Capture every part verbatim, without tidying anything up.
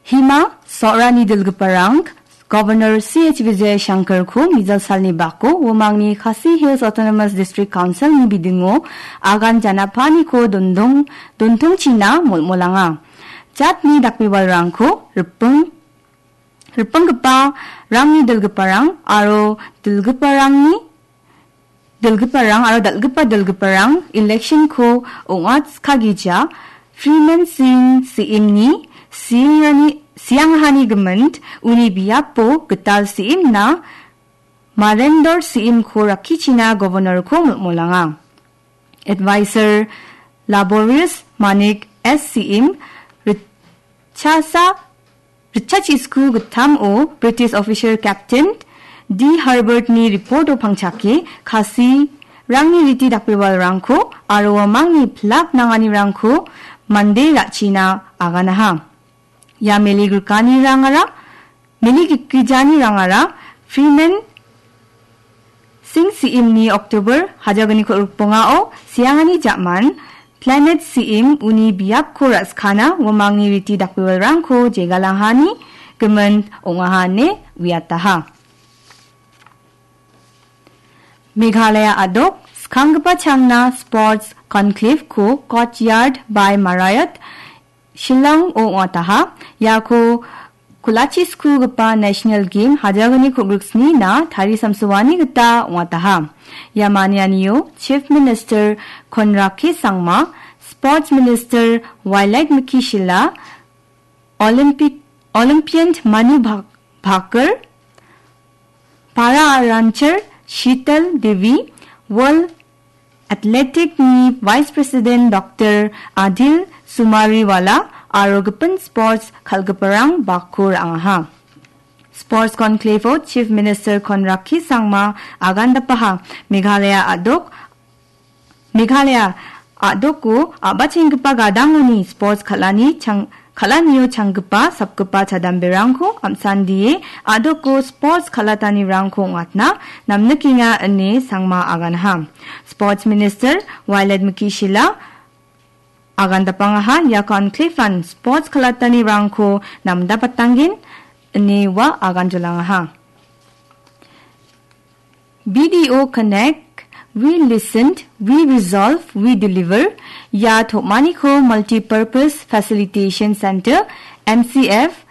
Hima, Sohrani dilgiparang, Governor C H Vijayashankarko mijal salni bako, uamangni Khasi Hills Autonomous District Councilni bidingo agan janapaniko dondong-, dontongchina molmolanga. Jatni dakbebalrangko ripeng, ripenggipa rangni dilgiparang aro dilgiparangni dilgiparang aro dal·gipa dilgiparang election-ko ong·atskagija Freeman Singh C M-ni siangrani-, sianghani gimin uni biapo gital C M-na Marendor C M-ko rakkichina Governor-ko molmolanga. Advisor Laborious Manik S C M ritchasa Ritchachisku gittamo British officer Captain D Herbert-ni report-o pangchake Khasi rangni riti dakbebalrangko aro uamangni plak nanganirangko mande ra·china aganaha. Ia meli grikanirangara, meli gikgijanirangara Freeman Singh C M-ni October hajalgniko rikbongao siangani ja·man Planet C M uni biapko ra·skana uamangni riti dakbebalrangko jegalangani gimin ong·aha ine uiataha. Meghalaya a·dok skanggipa changna Sports Conclave-ko Courtyard by Marriott Shillong-o ong·ataha. Iako kulachi skugipa National Game hajalgni kogriksnina tarisamsoani gita ong·ataha. Ia manianio Chief Minister Conrad K Sangma, Sports Minister Wailakmiki Shylla, Olympic, Olympian Manu Bhak-, Bhaker, Para rancher Sheetal Devi, World Athletic-ni Vice President Doctor Adil Sumariwala aro gipin sports kal·giparang bako ra·angaha. Sports Conclave-o Chief Minister Conrad K Sangma agandapaha Meghalaya a·dok Meghalaya a·doko a·bachenggipa gadangoni sports kal·ani chang-, kal·anio changgipa sapgipa chadamberangko am·sandie a·doko sports kal·atanirangko ong·atna namnikenga ine Sangma aganha. Sports Minister Wailakmiki Shylla agandapangaha ia conclave-an sports kal·atanirangko namdapatanggen ine ua aganjolangaha. B D O Connect, We Listened, We Resolve, We Deliver, ia tom·aniko Multipurpose Facilitation Center, M C F,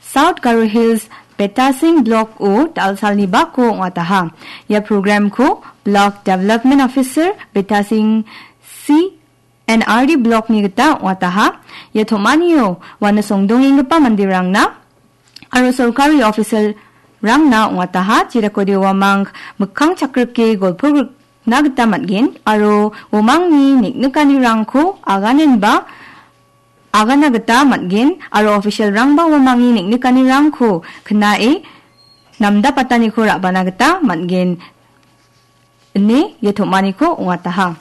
South Garo Hills, Betasing Block-o dal·salni bako ong·ataha. Ia program-ko Block Development Officer, Betasing C N R D Block-ni gita ong·ataha. Ia tom·anio uano songdongenggipa manderangna aro sorkari official-rangna ong·ataha, jedakode uamang mikkang chakrike golpo grikna gita man·gen, aro uamangni neng·nikanirangko aganenba agana gita man·gen, aro official-rangba uamangni neng·nikanirangko knae namdapataniko ra·bana gita man·gen, ine ia tom·aniko ong·ataha.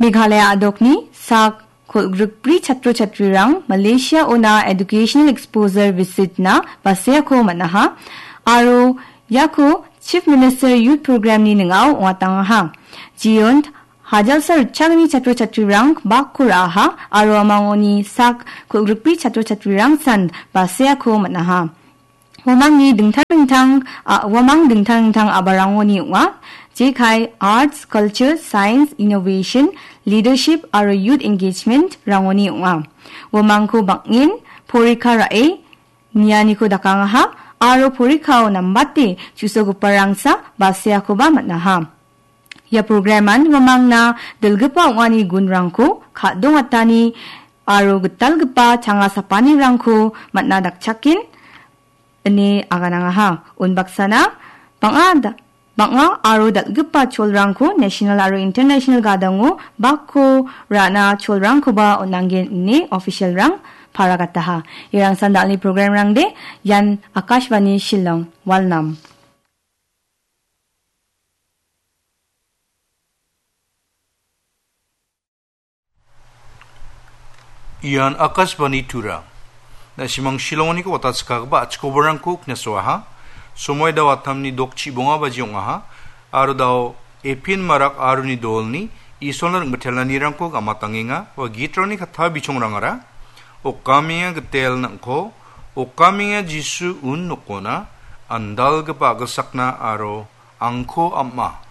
Meghalaya a·dokni sak kolgrikbri chatro chatrirang Malaysia-ona educational exposure visit-na baseako man·aha aro iako Chief Minister Youth Program-ni ning·ao ong·atangaha. Jiyont hajalsa ritchagni chatro chatrirang bakko ra·aha aro uamangoni sak kolgrikbri chatro chatrirangsan baseako man·aha. Uamangni dingtang dingtang, a-, uamang dingtang dingtang a·balrangoni ong·a. Jekai Arts, Culture, Science, Innovation, Leadership aro Youth Engagement-rangoni ong·a. Uamangko bang·en porikha ra·e nianiko dakangaha aro porikhao nambate chu·sogiparangsa baseakoba man·aha. Ia program-an uamangna dilgipa ong·ani gunrangko ka·dongatani aro gitalgipa changa sapanirangko man·a dakchaken ine aganangaha. Unbaksana bang·a da-, bang·a aro dal·gipa cholrangko national aro international gadango bakko ra·na cholrangkoba on·anggen ine official-rang paragataha. Irangsan dalni program-rangde, ian Akashvani Shillong, Walnam. Ian Akashvani Tura. Na·simang Shillongniko watatskagipa achikobarangko knasoaha. Somoi dao atamni dok chibonga baji ong·aha. Aro dao Epin Marak aroni dolni Isolna ring·batelanirangko gamatangenga. Ua gitrangni katta bichongrangara. Okamenga gitel nangko, okamenga Jisu un nokona, andalgipa gisakna aro angko ama.